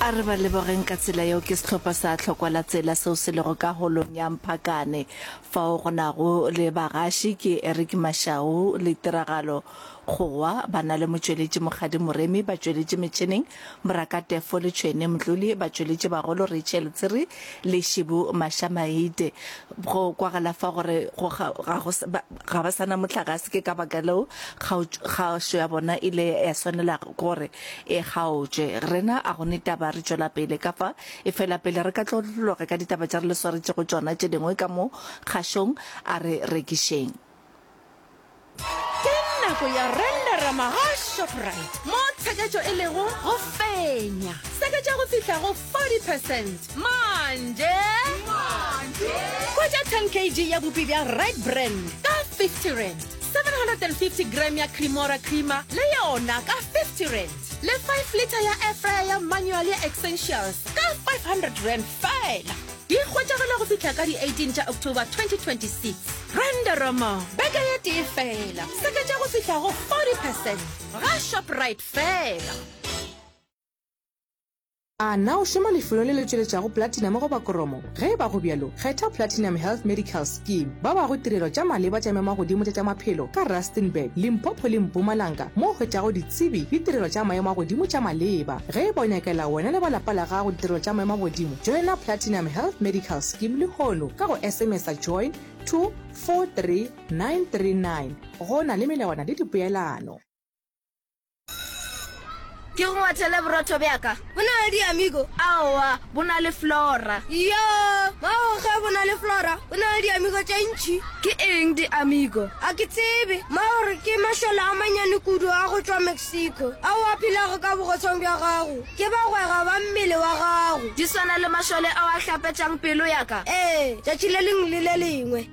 A re ba lebogeng ka tsela yeo ke sehlopha sa Tlhokwa la Tsela seo se lego ka holong ya Mphakane fao go nago le bagaši ke Eric Mashau le Tiragalo Kgowa ba na le motšweletši Mokgadi Moremi ba tšweletše metšheneng Moraka Tefo le Tšhwene Mdluli ba tšweletše bagolo Rachel Tsiri le Šibu Mashamaite go kwagala fa gore go ga go ga ba sa na mohlagase ke ka baka leo kgaošo ya bona ile ya swanela gore e kgaotšwe. Rena a go ne taba, re tšwela pele ka fa. Efela pele re ka tlotlologa ka ditaba tša re le swaretšego tšona tše dingwe ka mo kgašong, a re rekišeng. Ke nako ya Renderama ga Shoprite mo tsheketšo e lego go fenya. Seketša go fihla go 40 percent manje. Hwetša 10 kg ya bupi bja Red Brand ka 50 rand. 750 gram ya Cremora creamer le yona ka 50 rand. Le 5 litre ya air fryer ya manual ya Essentials ka 500 rand feela. Di hwetšagala go fihla ka di 18 tša October 2026. Renderoma beke ye tee feela, seketša go fihla go 40 percent ga Shoprite feela. A na o šoma lefelong le le tšweletšago platinum goba kromo? Ge e ba go bjalo, kgetha Platinum Health Medical Scheme. Ba bago tirelo tša maleba tša maemo-a-godimo tša tša maphelo ka Rustenburg, Limpopo le Mpumalanga mo o hwetšago ditsebi le tirelo tša maemo a godimo tša maleba. Ge e ba o nyakela wena le ba lapa la gago ditirelo tša maemo a godimo, joina Platinum Health Medical Scheme lehono ka go SMS-a join to 43939. Go na le melawana le dipoelano. Ke go ngwathele borotho bja ka. Bo na le di-amigo? Aowa, bo na le Flora. Yoo, mmago ge bo na le Flora, bo na le di-amigo tše ntši. Ke eng di-amigo? A ke tsebe. Mmago re ke mašole a manyane kudu a go tšwa Mexico ao a phelago ka bogotsong bja gago. Ke bagwera ba mmele wa gago. Di swana le mašole ao a hlapetšang pelo ya ka? Ee, tšatši le lengwe le le lengwe.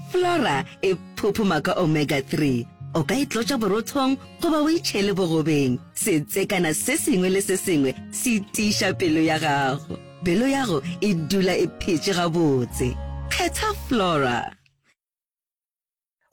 Flora e phophoma ka omega 3. O ka e tlotša borothong goba o e tšhele bogobeng. Setsekana se sengwe le se sengwe se tiiša pelo ya gago. Pelo yago e dula e phetše gabotse. Kgetha Flora.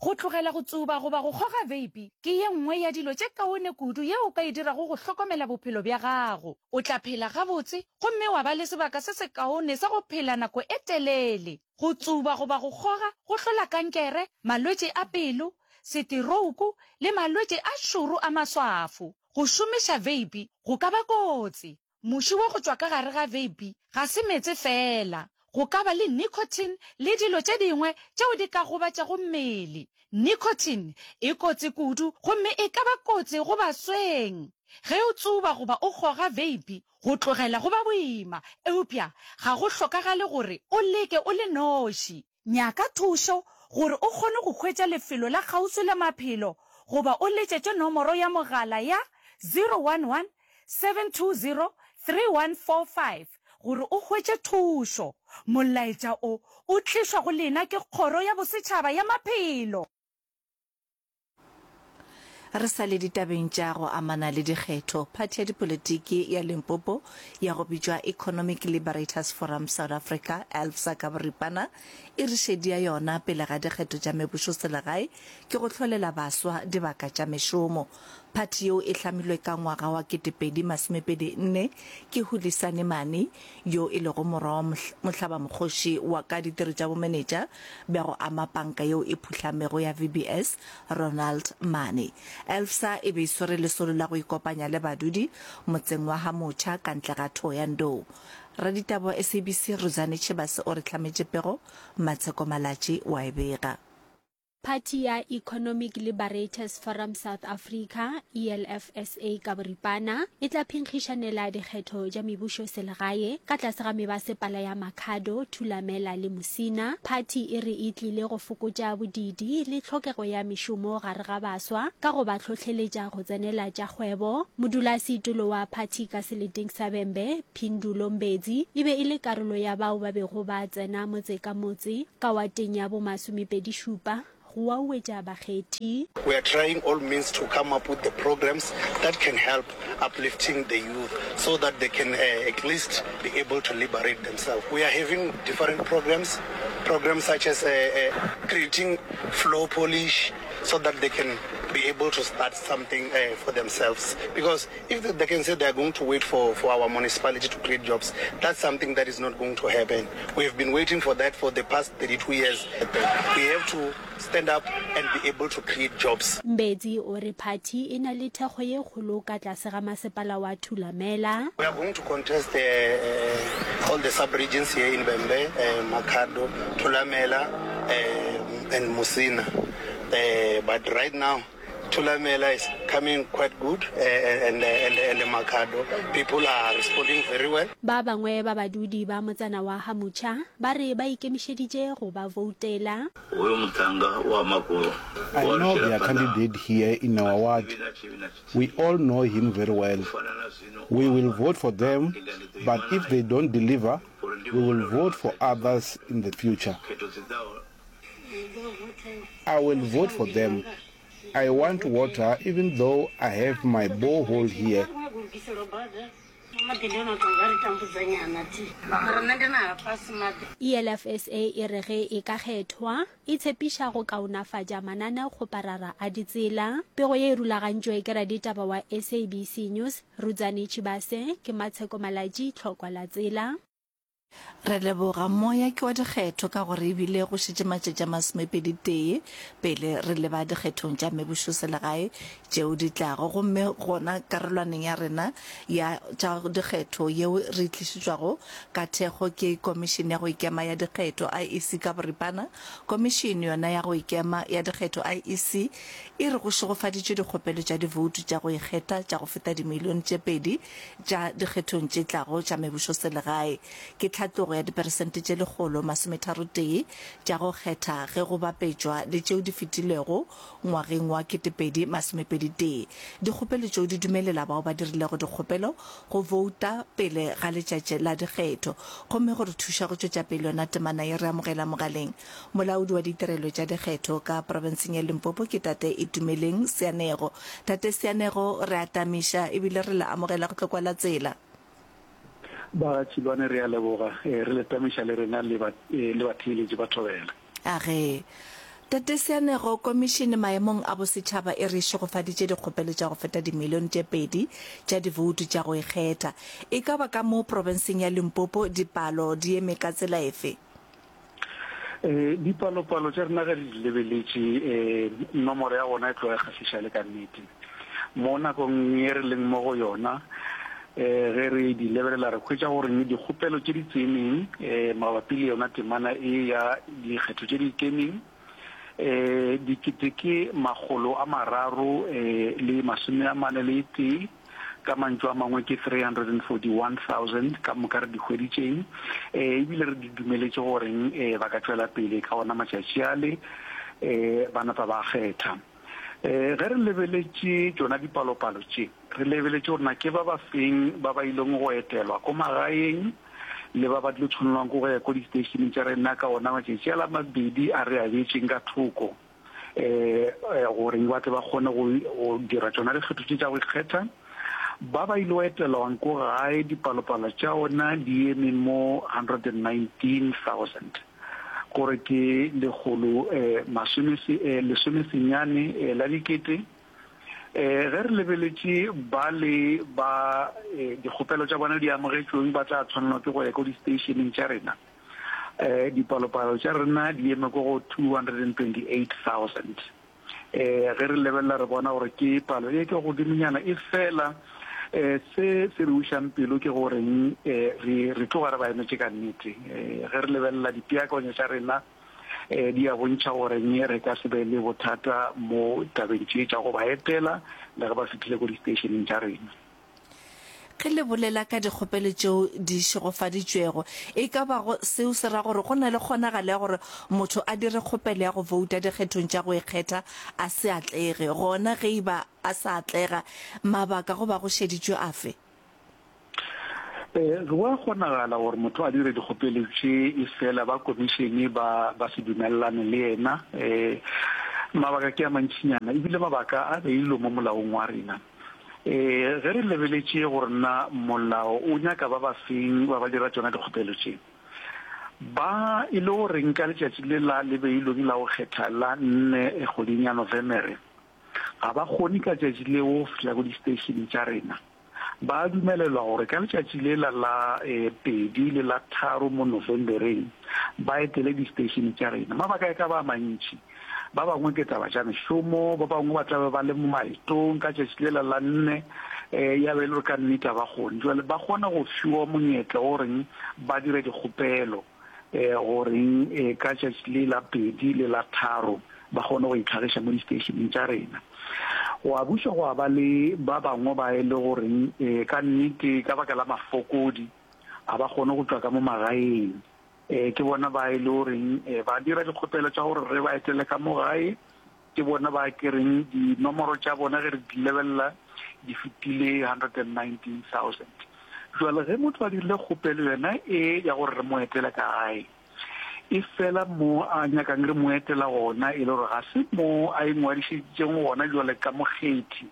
Go tlogela go tsuba goba go kgoga veipi ke ye nngwe ya dilo tše kaone kudu yeo o ka e dirago go hlokomela bophelo bja gago. O tla phela gabotse gomme wa ba le sebaka se sekaone sa go phela nako e telele. Go tsuba goba go kgoga go hlola kankere, malwetši a pelo, seterouku le malwetši a šoro a maswafo. Go šomiša veipi go ka ba kotsi. Muši wa go tšwa ka gare ga veipi ga se meetse feela. Go ka ba le nicotine le dilo tše dingwe tšeo di ka gobatšago mmele. Nicotine e kotsi kudu gomme e ka ba kotsi go basweng. Ge o tsuba goba o kgoga veipi, Go tlogela go ba boima, eupša ga go hlokagale gore o leke o le noši. Nyaka thušo gore o kgone go hwetša lefelo la kgauswi la maphelo goba o letšetše nomoro ya mogala ya 011 720 3145 gore o hwetše thušo. Molaetša o o tlišwa go lena ke Kgoro ya Bosetšhaba ya Maphelo. Re sa le ditabeng tša go amana le dikgetho, phathi ya dipolitiki ya Limpopo ya go bitšwa Economic Liberators Forum South Africa, ELFSA ka boripana, e re šedi ya yona pele ga dikgetho tša mebušoselegae ke go hlolela baswa dibaka tša mešomo. Phathi yeo e hlamilwe ka ngwaga wa 2024 ke Hulisani Mani yo e lego morwa wa mohlabamokgoši wa ka ditiro tša bomenetša bja go ama panka yeo e phuhlamego ya VBS, Ronald Mane. ELFSA e be e swere lesolo la go ikopanya le badudi motseng wa Ha-Mocha ka ntle ga Thohoyandou. Raditaba wa SABC Rudzani Tshivhase o re hlametše pego, Matsheko Malatji wa e bega. Phathi ya Economic Liberators Forum South Africa, ELFSA ka boripana, e tla phenkgišanela dikgetho tša mebušo selegae ka tlase ga mebasepala ya Makhado, Thulamela le Musina. Phathi e re e tlile go fokotša bodiidi le tlhokego ya mešomo gare ga baswa ka go ba hlohleletša go tsenela tša kgwebo. Modulasetulo wa phathi ka seleteng sa Vhembe, Phindulo Mbedzi, e be e le karolo ya bao ba bego ba tsena motse ka motse ka wateng ya bomasomepedišupa go wauwetša bakgethi. We are trying all means to come up with the programs that can help uplifting the youth so that they can at least be able to liberate themselves. We are having different programs, programs such as creating floor polish so that they can be able to start something uh, for themselves. Because if they can say they are going to wait for, for our municipality to create jobs, that's something that is not going to happen. We have been waiting for that for the past 32 years. We have to stand up and be able to create jobs. Mbedzi o re phathi e na le thekgo ye kgolo ka tlase ga masepala wa Thulamela. We are going to contest uh, all the sub-regions here in Vhembe, uh, Makhado, Thulamela uh, and Musina. Uh, but right now, Thulamela is coming quite good uh, and, and, and Makhado. People are responding very well. Ba bangwe ba badudi ba motsana wa Ga-Motšha ba re ba ikemišeditše go ba voutela. Hoyo muṱhannga wa makolo I o know alutshela their phanḓa candidate here in our A ward. tshivhi na tshivhi na We tshithihi. all know him very well. U fana na zwino, o We will amba, vote for them, Inga ndi ḓo but ima if they nae, don't deliver, uri ndi we will vhone uri vote for vha sa iti zwa others in the future. Khetho dzi ḓaho I will vote for them. I want water even though I have my borehole here. ELFSA e re ge e ka kgethwa, e tshepiša go kaonafatša mananeokgoparara a ditsela. Pego ye e rulagantšwe ke raditaba wa SABC News, Rudzani Tshivhase, ke Matsheko Malatji, Tlhokwa la Tsela. Re leboga moya ke wa dikgetho ka gore ebile go šetše matšatši a masomepeditee pele re leba dikgethong tša mebušoselegae tšeo di tlago gomme gona karolwaneng ya rena ya tša dikgetho yeo re e tlišetšwago ka thekgo ke Komišene ya go Ikema ya Dikgetho, IEC ka boripana. Komišene yona ya go Ikema ya Dikgetho, IEC, e re go šegofaditšwe dikgopelo tša divoutu tša go ikgetha tša go feta dimilione tše pedi tša dikgethong tše tlago tša mebušoselegae. Ke tlhatlogo ya diperesente tše 133 tša go kgetha ge go bapetšwa le tšeo di fetilego ngwageng wa 2021. Dikgopelo tšeo di dumelela bao ba dirilego dikgopelo go bouta pele ga letšatši la dikgetho. Gomme go re thuša go tšwetša pele yona temana ye re amogela mogaleng Molaodi wa ditirelo tša dikgetho ka profenseng ya Limpopo ke Tate Itumeleng Seanego. Tate Seanego, re a tamiša ebile re le amogela go tlo kwala tsela. Ba Tšilwane re a leboga, re le tamiša le rena le ba le batheeletši ba Thobela. Age. Tate Seanego, Komišene maemong a bosetšhaba e re šegofaditše dikgopelo tša go feta dimilione tše pedi tša divoutu tša go ikgetha. E ka ba ka mo profenseng ya Limpopo dipalo di eme ka tsela efe? Dipalopalo tša rena ge re di lebeletše, nomoro ya gona e tloga e kgahliša le ka nnete. Mo nakong ye re leng mo go yona, ge re di lebelela re hwetša gore dikgopelo tše di tseneng mabapi le yona temana e ya dikgetho tše di ikemeng, 3341, Ka mantšu a mangwe ke 341,000 ka moka re di hweditšeng, e bile re di dumeletše goreng ba ka tšwela pele ka ona matšatši ale ba napa ba kgetha. Ge re lebeletše tšona dipalopalo tše, re lebeletše gore na ke ba ba feng ba ba ileng go etelwa ko magaeng le ba ba tlo tshwanelwang ke go ya ko diteišeneng tša rena ka ona matšatši ale a mabedi a re a beetšeng ka thoko. gore ba tle ba kgone go dira tšona dikgetho tše tša go ikgetha. Ba ba ile go etelwang ko gae dipalopalo tša ona di eme mo 119,000, gore ke lekgolo masome lesomesenyane la dikete. Ge re lebeletše ba le ba dikgopelo tša bona di amogetšweng ba tla tshwanelwa ke go ya ko di-stationeng tša rena. Dipalopalo tša rena di eme ko go 228,000. Ge re lebelela re bona gore ke palo e ke godimonyana, e fela se se re ušang pelo ke goreng re re tloga re ba emetše ka nnete. Ge re lebelela dipeakanyo tša rena di a bontšha goreng re ka se be le bothata mo tabeng tše tša go ba etela le ge ba fihlile ko di-stationeng tša rena. Ge le bolela ka dikgopelo tšeo di šegofaditšwego, e ka ba go seo se ra gore go na le kgonagalo ya gore motho a dire kgopelo ya go bouta dikgethong tša go ikgetha a se atlege. Gona ge e ba a sa atlega, mabaka go ba go šeditšwe afe? Ee, go a kgonagala gore motho a dire dikgopelo tše efela ba komišene ba ba se dumelelane le yena. Ee, mabaka ke a mantšinyana ebile mabaka a beilwe mo molaong wa rena. Ee, ge re lebeletše gore na molao o nyaka ba ba feng ba ba dira tšona dikgopelo tše, ba e le goreng ka letšatši le la le beilweng la go kgetha la nne kgweding ya Novemere, ga ba kgone ka tšatši leo go fihla ko di-station tša rena, ba dumelelwa gore ka letšatši lela la pedi le la tharo mo Novembereng ba etele di-station tša rena. Mabaka e ka ba a mantši. Ba bangwe ke taba tša mešomo, ba bangwe ba tla be ba le mo maetong ka tšatši lela la nne, ya be e le gore ka nnete ga ba kgone. Jwale ba kgona go fiwa monyetla wa goreng ba dire dikgopelo. Goreng ka tšatši le la pedi le la tharo ba kgone go itlhagiša mo disteišeneng tša rena. Gwa buša gwa ba le ba bangwe ba e le goreng ka nnete ka baka la mafokodi ga ba kgone go tšwa ka mo magaeng. Ke bona ba e le goreng ba dira dikgopelo tša gore re ba etele ka mo gae. Ke bona ba ke reng dinomoro tša bona ge re di lebelela di fetile 119,000. Jwale ge motho a dirile kgopelo yona e ya gore re mo etele ka gae, e fela mo a nyakang re mo etela gona e le gore ga se mo a ingwadišeditšeng gona jwale ka mokgethi,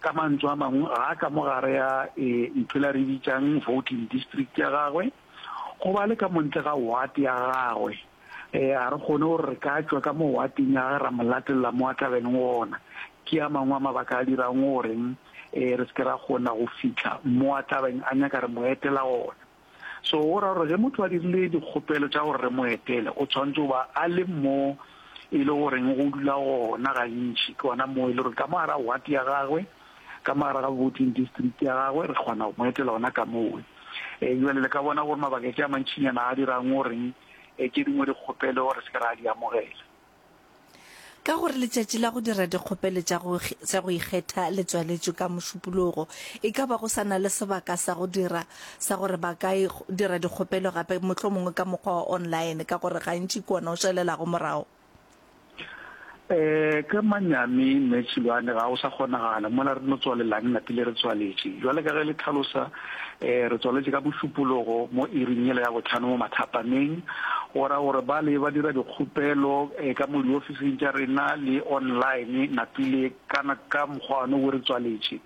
ka mantswe a mangwe ga a ka mo gare ya ntho ela re e bitšang voting district ya gagwe, goba a le ka mo ntle ga ward ya gagwe. Ee, ga re kgone gore re ka tšwa ka mo wateng ya gagwe ra mo latelela mo a tla beng gona. Ke a mangwe a mabaka a dirang gore re se ke ra kgona go fihla mo a tla beng a nyaka re mo etela gona. So go ra gore ge motho a dirile dikgopelo tša gore re mo etele, o tshwanetse go ba a le mo e le goreng go dula gona gantši. Ke gona mo e le gore ka mo gare ga ward ya gagwe, ka mo gare ga voting district ya gagwe, re kgona go mo etela gona ka mowe. Bjale le ka bona gore mabaka ke a mantšinyana a dirang goreng tše dingwe dikgopelo re se ke ra di amogela. Ka gore letšatši la go dira dikgopelo tša go tša go ikgetha le tswaletšwe ka Mošupologo, e ka ba go sa na le sebaka sa go dira sa gore ba ka dira dikgopelo gape, mohlomongwe ka mokgwa wa online, ka gore gantši ke wona o šalelago morago. Ee, ka manyami, Mme Tšhilwane, ga go sa kgonagala. Mola re no tswalelang napile re tswaletše. Bjale ka ge le tlhalosa, ee, re tswaletše ka Mošupologo mo iring yela ya bohlano mo mathapameng. Go ra gore bale ba dira dikgopelo ka mo diofising tša rena le online napile ka, ka mokgwa wona wo re tswaletše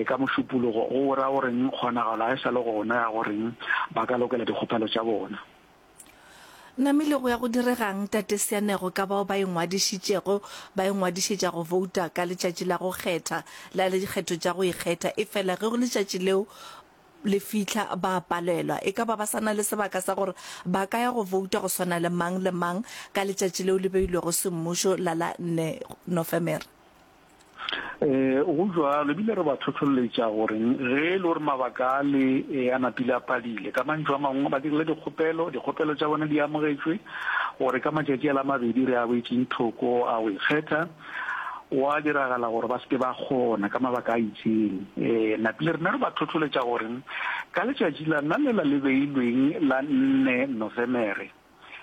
ka Mošupologo. Go ra goreng kgonagalo ga e sa le gona ya goreng ba ka lokela dikgopelo tša bona. Namile go ya go direga'ng, Tate Seanego, ka bao ba ingwadišitšego ba ingwadišetša go bouta ka letšatši la go kgetha la dikgetho tša go ikgetha, efela ge letšatši leo le fihla ba a palelwa? E ka ba ba sa na le sebaka sa gore ba ka ya go bouta go swana le mang le mang ka letšatši leo le beilwego semmušo la la nne Nofemere? Ee, go bjalo, ebile re ba hlohloletša gore ge e le gore mabaka a le a napile a padile, ka mantšu a mangwe ba dirile dikgopelo, dikgopelo tša bona di amogetšwe, gore ka matšatši a la mabedi re a boetšeng thoko a go ikgetha, gwa diragala gore ba se ke ba kgona ka mabaka a itšeng. Ee, napile rena re ba hlohloletša gore ka letšatši la nna lela le beilweng la nne Nofemere,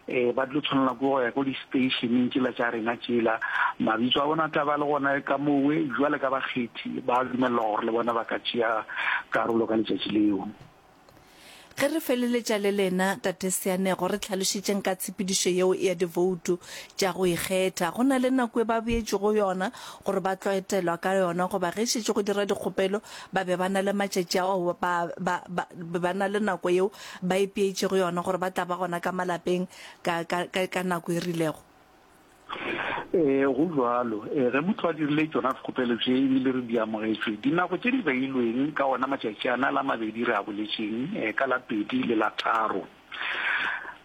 Ee, ba tlo tshwanela ke go ya ko di-stationeng tšela tša rena tšela. Mabitso a bona a tla ba le gona ka mowe, bjale ka bakgethi ba dumelelwa gore le bona ba ka tšea karolo ka letšatši leo. Ge re feleletša le lena, Tate Seanego, re hlalošetšeng ka tshepedišo yeo ya divoutu tša go ikgetha. Go na le nako e ba beetšwego yona gore ba tlo etelwa ka yona goba ge šetše go dira dikgopelo ba be ba na le matšatši ao ba, ba, ba, be ba na le nako yeo ba ipeetšego yona gore ba tla ba gona ka malapeng ka, ka, ka, ka nako e rilego? Ee, go bjalo. Ee, ge motho a dirile tšona dikgopelo tše e bile re di amogetšwe, dinako tše di beilweng ka ona matšatši ana la mabedi re a boletšeng, ee, ka la pedi le la tharo.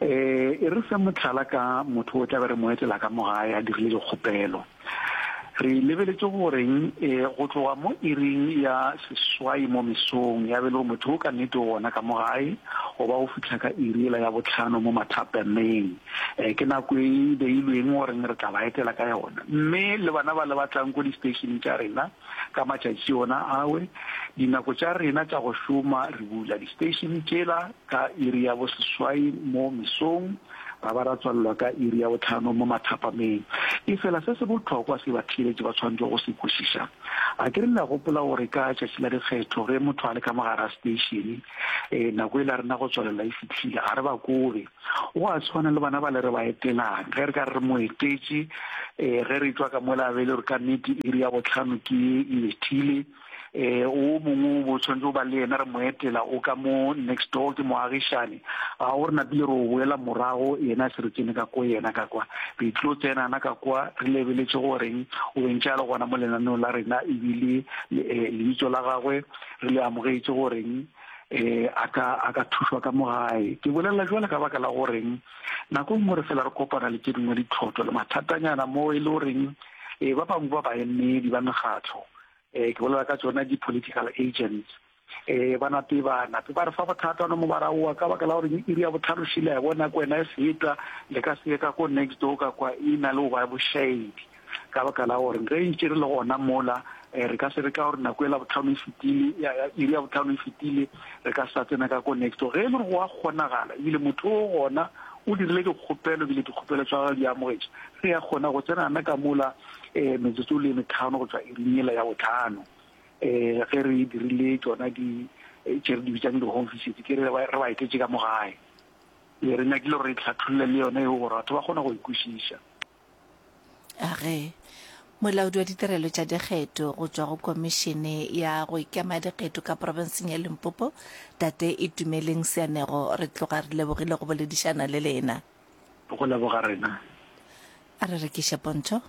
Ee, e re fe mohlala ka motho o tla be re mo etela ka mo gae a dirile dikgopelo. Re lebeletše goreng go tloga mo iring ya seswai mo mesong ya be le gore motho o ka nnete o gona ka mo gae goba go fihla ka iri yela ya bohlano mo mathapameng. Ke nako e beilweng goreng re tla ba etela ka yona. Mme le bana ba le ba tlang ko di-station tša rena ka matšatši ona awe, dinako tša rena tša go šoma re bula di-station tšela ka iri ya boseswai mo mesong, ra ba ra tswalelwa ka iri ya bohlano mo mathapameng. Efela se se bohlokwa se batheeletši ba swanetšego go se kwešiša, a ke re le a gopola gore ka tšatši la dikgetho ge motho a le ka mo gare ga seteišene, nako yela rena go tswalelwa e fihlile, ga re ba kobe. Go a swana le bana bale re ba etelang, ge re ka re re mo etetše, ge re tšwa ka mola a be e le gore ka nnete iri ya bohlano ke ye e bethile. Um o mongwe o bo tshwanetse o ba le yena re mo etela o ka mo next door ke moagišane. Ga o re napile re o boela morago yena se re tsene ka ko yena ka kwa. Re tlo tsenana ka kwa re lebeletše goreng o be ntše a le gona mo lenaneong la rena ebile lebitso la gagwe re le amogetše goreng um a ka a ka thušwa ka mo gae. Ke bolela jwale ka baka la goreng nako e nngwe re fela re kopana le tše dingwe ditlhotlo le mathatanyana mo e le goreng um ba bangwe ba baemedi ba mekgatlo eh ke bolela ka tsona di-political agents eh ba nape ba nape ba re fa bothata no mo ba raoa ka baka la gore iri ya botlhano šile ya bona ko wena e feta le ka se ka ko next door ka kwa e na le go ba bošaedi ka baka la gore ge ntše re le gona mola eh, re ka se re ka gore nako e la botlhano e fetile iri ya botlhano e fetile re ka sa tsena ka ko next door ge e le gore go a kgonagala ebile motho o gona o dirile dikgopelo ebile dikgopelo tsa gagwe di amogetše re ya kgona go tsenana ka mola um metsotso le metlhano go tšwa iring yela ya botlhano um ge re dirile tšona di tše re di bitsang di-home visit ke re re ba etetše ka mo gae. Ee, re nyakile gore re tlhatholle le yona eo gore batho ba kgone go e kwešiša. A ge Molaodi wa Ditirelo tša Dikgetho go tšwa go Komišene ya go Ikema Dikgetho ka profenseng ya Limpopo, Tate Itumeleng Seanego, re tloga re lebogile go boledišana le lena. Go leboga rena. A re rekiše pontšho.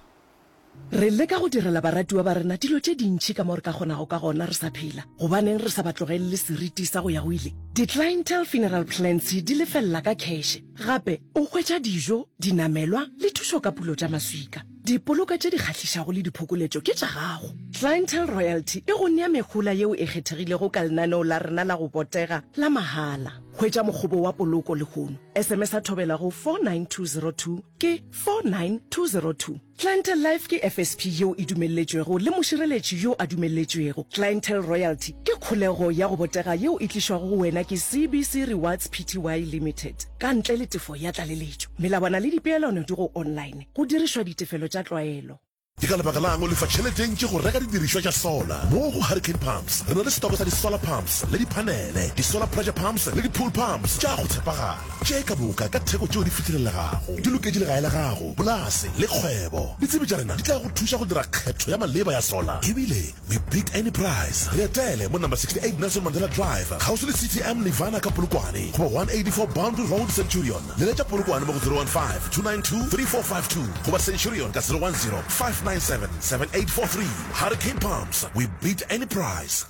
Re leka go direla baratiwa ba rena dilo tše dintši ka mo re ka kgonago ka gona re sa phela. Gobaneng re sa ba tlogelele seriti sa go ya go ile? Di-Clientele Funeral Plans di lefelela ka kheše. Gape o hwetša dijo, dinamelwa le thušo ka pulo tša maswika. Dipoloka tše di kgahlišago le diphokoletšo ke tša gago. Clientele Royalty e go nea mehola yeo e kgethegilego ka lenaneo la rena la go botega la mahala. Hwetša mokgobo wa poloko lehono. SMS-a thobela go 49202 ke 49202. Clientele Life ke FSP yeo e dumelletšwego le mošireletši yo a dumelletšwego. Clientele Royalty ke kholego ya go botega yeo e tlišwago go wena ke CBC Rewards Pty Limited ka ntle le tefo ya tlaleletšo. Melawana le dipeelano di go online go dirišwa ditefelo tša tlwaelo. Ke ka lebaka la'ng o lefa tšhelete e ntši go reka didirišwa tša solar? Mo go Hurricane Pumps re na le setoko sa di-solar pumps le diphanele, di-solar pressure pumps le di-pool pumps tša go tshepagala, tše ka moka ka theko tšeo di fihlelelegago. Di loketše legae la gago, polase le kgwebo. Ditsebi tša rena di tla go thuša go dira kgetho ya maleba ya solar. Ebile we beat any price. Re etele mo number 68 Nelson Mandela Drive, kgauswi le CTM Nirvana ka Polokwane goba 184 Boundary Road, Centurion. Leletša Polokwane mo go 015 292 3452 goba Centurion ka 010 597 7843. Hurricane Pumps, we beat any price.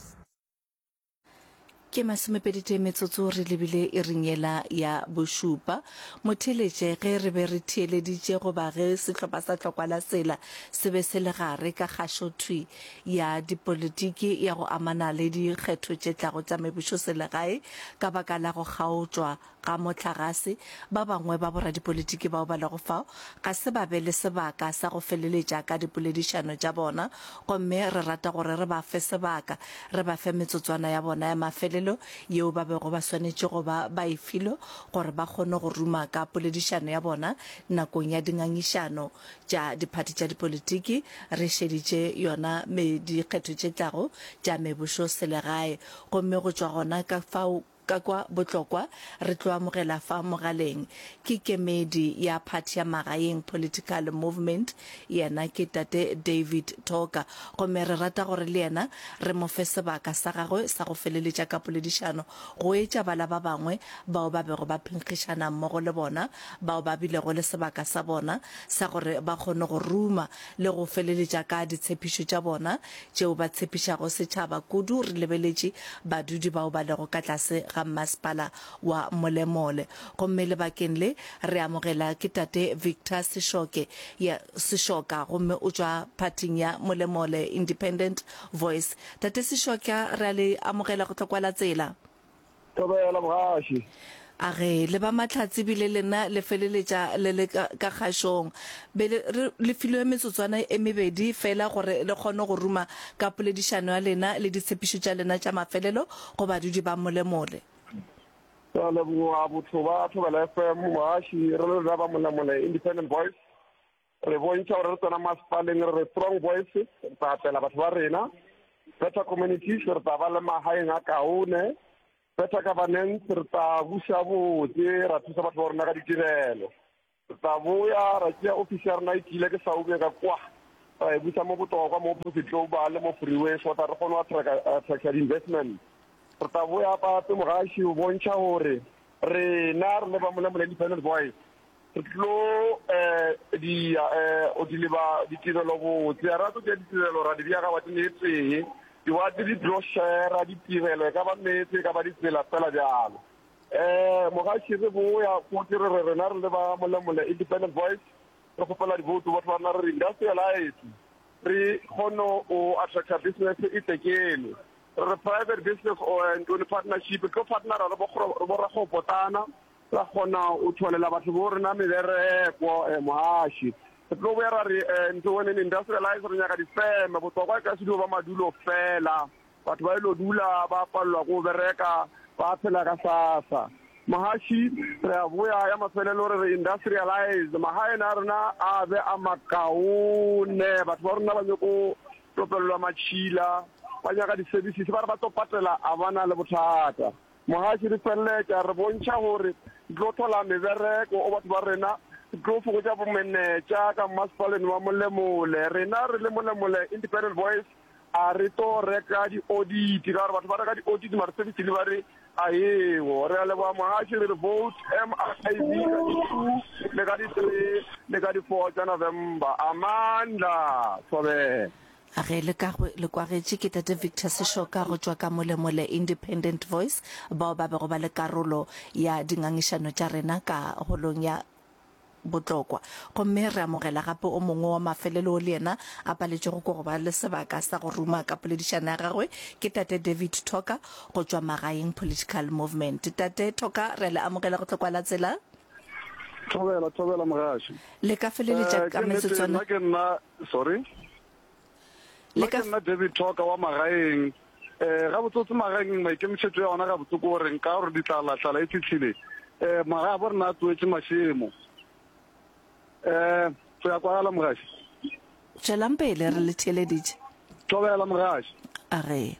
Ke masomepeditee metsotso re lebile iring yela ya bošupa. Motheeletše ge re be re theeleditše goba ge sehlopha sa Tlokwa la Tsela se be se le gare ka kgašothwi ya dipolitiki ya go amana le dikgetho tše tlago tša mebušoselegae ka baka la go kgaotšwa ga mohlagase, ba bangwe ba boradipolitiki bao ba lego fao ga se ba be le sebaka sa go feleletša ka dipoledišano tša bona, gomme re rata gore re ba fe sebaka, re ba fe metsotswana ya bona ya mafelelo yeo ba bego ba swanetše go ba ba e filwe gore ba kgone go ruma ka poledišano ya bona nakong ya dingangišano tša diphathi tša dipolitiki re šeditše yona me dikgetho tše tlago tša mebušoselegae. Gomme go tšwa gona ka fao Ka kwa Botlokwa re tlo amogela fa mogaleng ke kemedi ya phathi ya Magaeng Political Movement, yena ke Tate David Thoka. Gomme re rata gore le yena re mo fe sebaka sa gagwe sa go feleletša ka poledišano go etša bala ba bangwe bao ba bego ba phenkgišana mmogo le bona, bao ba bilego le sebaka sa bona sa gore ba kgone go ruma le go feleletša ka ditshepišo tša bona tšeo ba tshepišago setšhaba, kudu re lebeletše badudi bao ba lego ka tlase ga mmasepala wa Molemole. Gomme lebakeng le re amogela ke Tate Victor Seshoke, ya, Seshoka, gomme o tšwa phathing ya Molemole Independent Voice. Tate Seshoka, re a le amogela go Tlokwa la Tsela. Thobela, mogaši. A ge le ba mahlatse bile lena le feleletša le le ka, ka kgašong. Be le, re, le filwe metsotswana e mebedi feela gore le kgone go ruma ka poledišano ya lena le ditshepišo tša lena tša mafelelo go badudi ba Molemole. Re a leboga botho ba Thobela FM, mogaši, re le rena ba Molemole Independent Voice. Re bontšha gore re tsena masepaleng re re strong voice, re tla apela batho ba rena. Better communities, re tla ba le magaeng a kaone. Better governance, re tla buša botse, ra thusa batho ba rona ka ditirelo. Re tla boya ra tšea ofisi ya rena e tiile ke Saube ka kwa. ra e busa mo Botlokwa, mo Opposite Global, mo Freeway so that re kgone go attracta di-investment. Re tla boya gape mogaši o bontšha gore rena re le ba Molemole Independent Voice re tlo di di leba ditirelo botse. Ga ra tlo tšea ditirelo ra di bea ga wateng e tee. Diwate di tlo shera ditirelo, e ka ba meetse, e ka ba ditsela, fela bjalo. Mogaši re boya fote re re rena re le ba Molemole Independent Voice re kgopela divoutu batho ba rena re re industrialize re kgone o attracta business e tle keno. Re re private business or ntone partnership re tlo partnera re bo rakgwebo-potlana ra kgona o tholela batho bo rena mebereko. Mogaši re tlo boya ra re ntone industrialize re nyaka difeme bohlokwa e ka se dio ba madulo fela. Batho ba ilo dula ba palelwa ke go bereka, ba phela ka sasa. Mohaši, re a boya ya mafelelo re re industrialize magaeng a rena a be a makaone. Batho ba rena ba nyoko topelelwa matšhila, ba nyaka di-services, ba re ba tlo patela a ba na le bothata. Mohaši, re feleletša re bontšha gore re tlo thola mebereko o batho ba rena, re tlo fokotša bomenetša ka mmasepaleng wa Molemole. Rena re le Molemole Independent Voice A re tlo reka di audit ka gore batho ba reka di audit mara service delivery a eo. Re a leboga mohaši re re vote MIV ka di 2 le ka di 3 le ka di 4 tša November. Amandla Thobela. A ge le ka le kwagetše ke Tate Victor Seshoka go tšwa ka Molemole Independent Voice bao ba bego ba le karolo ya dingangišano tša rena ka holong ya Botlokwa. Gomme re amogela gape o mongwe wa mafelelo wo le yena a paletšego ke go ba le sebaka sa go ruma ka poledišano ya gagwe, ke Tate David Thoka go tšwa Magaeng Political Movement. Tate Thoka, re a le amogela go Tlokwa la Tsela. Thobela, thobela mogaši. Le ka feleletša Eh, ka ke nnete, metsotswana. nna ke nna, sorry. Le Nna ka ke nna David Thoka wa Magaeng. Eh, gabotsotse Magaeng maikemišetšo ya ona gabotse ke gore nka gore ditlala tlala e fihlile. Eh, magae a bo rena a tsoetše mašemo. Eh, go ya kwagala mogaši. Tšwelang pele re le theeleditše. Thobela mogaši. A re.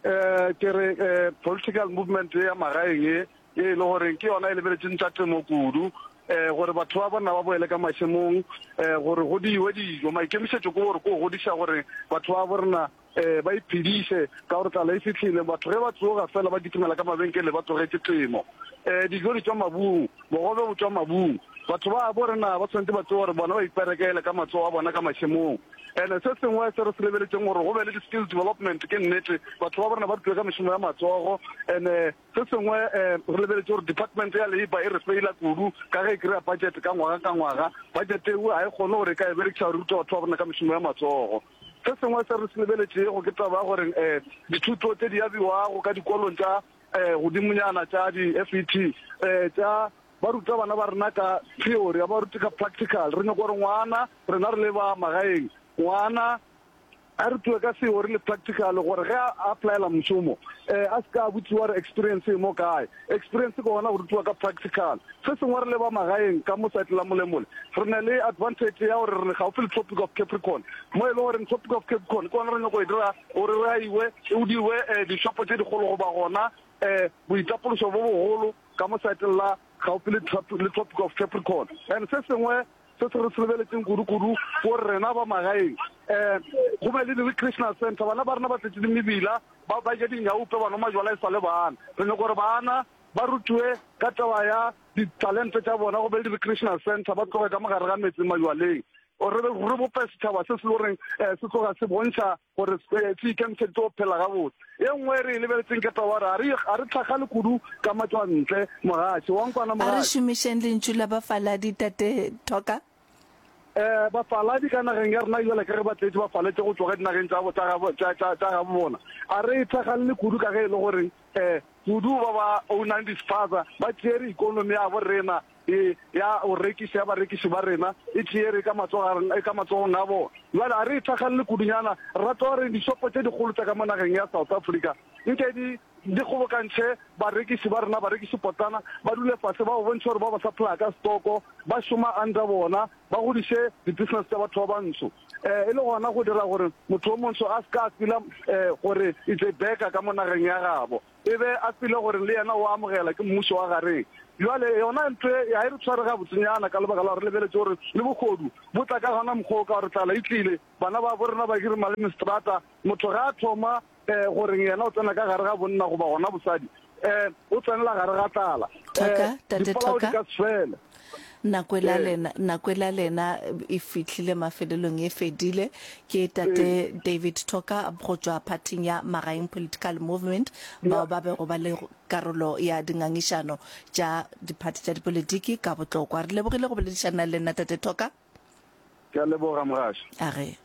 Eh, ke re eh, political movement ye ya magaeng ye, ye e le gore ke yona e lebeletšeng tša temo kudu, eh, gore batho ba bona ba boele ka mašemong, eh, gore go diwe dijo. Maikemišetšo ke gore ke go godiša gore batho ba borena eh, ba iphediše, ka gore tlala e fihlile. Batho ge ba tsoga fela ba kitimela ka mabenkele ba tlogetše temo. Eh, dijo di tšwa mabung, bogobe bo tšwa mabung. Batho ba borena ba swanetše ba tsebe gore bona ba iperekele ka matsogo a bona ka mašemong. Ene se sengwe se re se lebeletšeng gore go be le di-skills development, ke nnete batho ba borena ba rutiwe ka mešomo ya matsogo. Ene se sengwe re lebeletše gore department ya labour e re feila kudu ka ge e kry-a budget ka ngwaga ka ngwaga. Budget eo ga e kgone gore e ka e berekiša go ruta batho ba borena ka mešomo ya matsogo. Se sengwe se re se lebeletšego ke taba ya gore dithuto tše di abiwago ka dikolong tša godimonyana tša di-FET tša Ba ruta bana ba rena ka theory, ga ba rute ka practical. Re nyaka gore ngwana, rena re le ba magaeng, ngwana a rutiwe ka theory le practical gore ge a applyela mošomo a se ka a botšiwa gore experience e mo kae. Experience ke gona go rutiwa ka practical. Se sengwe re le ba magaeng ka mo side la Molemole, re na le advantage ya gore re gaufi le Tropic of Capricorn, mo e le goreng Tropic of Capricorn ke gona re nyako e dira gore re aiwe, go dirwe dishopo tše dikgolo goba gona boitapološo bo bogolo. ka mo saeteng la gaufi le, le Tropic of Capricorn. And se sengwe se se re se lebeletšeng kudu-kudu ke gore rena ba magaeng um go be le di-recreational center. Bana ba rena ba tletše dimebila, ba ba ja dinyaupe, ba nwa majwala e sa le bana. Re nyaka gore bana ba rutiwe ka taba ya ditalente tša bona, go be le di-recreational center, ba tloge ka mo gare ga metse majwaleng. Re re bope setšhaba se se le goreng um se tloga se bontšha gore se ikemišeditše go phela gabotse. E nngwe e re e lebeletseng ke taba gore ga re, ga re tlhagale kudu ka matšwantle, mogaši. Wa nkwana, A re mogaši? šomišeng lentšu la bafaladi, Tate Thoka. Eh, bafaladi ka nageng ya rena bjale ka ge ba tletše ba faletše go tšwa ka dinageng tša, tša gabo, tša, tša, tša gabo bona. A re e tlhagalele kudu ka ge e le gore eh, kudu ba ba ownang di-spaza ba tšere ikonomi ya bo rena e ya go rekiša ya barekiši ba rena e tšeere ka matsogo ka matsogong a bona. Bjale a re e thakgalele kudunyana, re rata gore dishopo tše dikgolo tša ka mo nageng ya South Africa nke di di kgobokantšhe barekiši ba rena, barekiši potlana, ba dule fase ba ba bontšhe gore ba ba supplya ka stoko, ba šoma under bona, ba godiše di business tša batho ba bantsho. E le gona go dira gore motho o montsho a se ka a feel-a gore it's a beggar ka mo nageng ya gabo. E be a feel-e gore le yena o amogela ke mmušo wa gareng. Bjale yona ntho e ga e re tshware gabotsenyana ka lebaka la gore re lebeletše gore le bohodu bo tla ka gona mokgwa wo ka gore tlala e tlile, bana babo rena ba hirima le mestrata, motho ga a thoma um goreng yena o tsena ka gare ga bonna goba gona bosadi, um o tsenela gare ga tlala, Thoka, um Tate dipolao di Thoka. ka se fele. Nako ela Ee. lena, nako ela lena e fihlile mafelelong, e fedile. Ke Tate David Thoka go tšwa phathing ya Magaeng Political Movement, bao ba bego ba le karolo ya dingangišano tša diphathi tša dipolitiki ka Botlokwa. Re lebogile go boledišana le lena Tate Thoka. Ke a leboga, Mogaši. A ge.